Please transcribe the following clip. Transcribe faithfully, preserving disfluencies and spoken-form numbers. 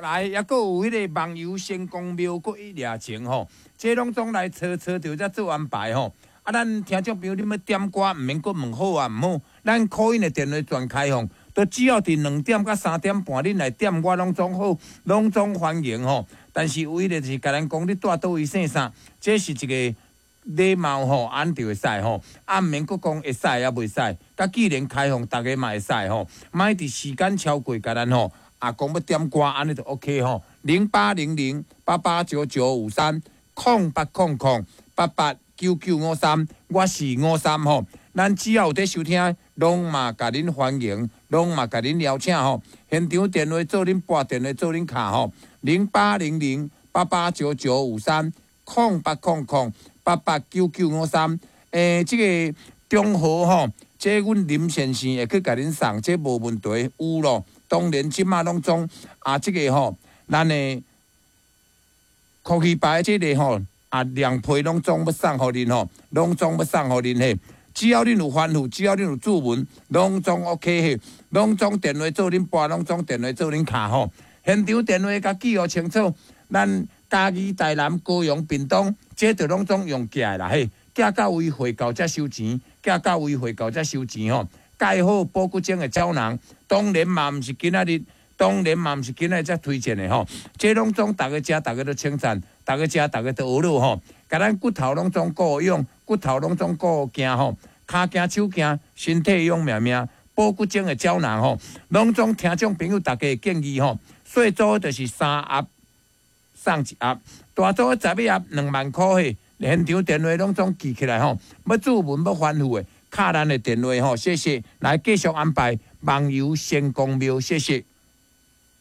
來，抑閣有彼个網遊仙公廟，閣一掠情吼，這攏總來找找著才做安排吼。啊，咱聽眾朋友，恁欲點歌，毋免閣問好啊，毋好，咱 call in 的電話全開放，都只要佇兩點佮三點半，恁來點我攏總好，攏總歡迎吼。但是唯一就是共咱講，你蹛佗位姓啥，這是一個禮貌吼，按就會使吼。啊，毋免閣講會使抑袂使，佮既然開放，逐家嘛會使吼。莫佇時間超過，共咱吼。啊，講欲點歌，按呢就 OK 吼。零八零零八八九九五三，空八空空八八九九五三，我是五三吼。咱只要有佇收聽，攏嘛共恁歡迎，攏嘛共恁邀請吼。現場電話做恁撥電話做恁敲吼。零八零零八八九九五三，空八空空八八九九五三。欸，這个中和吼，這阮林先生會去共恁送，這無問題，有咯。當然，這馬攏總啊，這个吼，咱的科技牌這个吼，啊，兩批攏總欲送予恁吼，攏總欲送予恁嘿。只要恁有吩咐，只要恁有注文，攏總 OK 嘿。攏總電話做恁撥，攏總電話做恁敲吼。現場電話共記號清楚，咱嘉義、台南、高雄、屏東，這就攏總用寄的啦嘿。寄到位匯到才收錢，寄到位匯到才收錢吼。蓋好保骨精的膠囊，當然嘛毋是今仔日，當然嘛毋是今仔日才推薦的吼。這攏總逐家食，逐家都稱讚，逐家食，逐家都學了吼。共咱骨頭攏總顧養，骨頭攏總顧行吼，跤行手行，身體勇命命，保骨精的膠囊吼，攏總聽眾朋友逐家建議吼，細組就是三盒送一盒，大組十一盒兩萬箍嘿。現場電話攏總記起來吼，欲注文欲吩咐的，敲咱的電話吼，謝謝。來繼續安排網遊仙公廟，謝謝。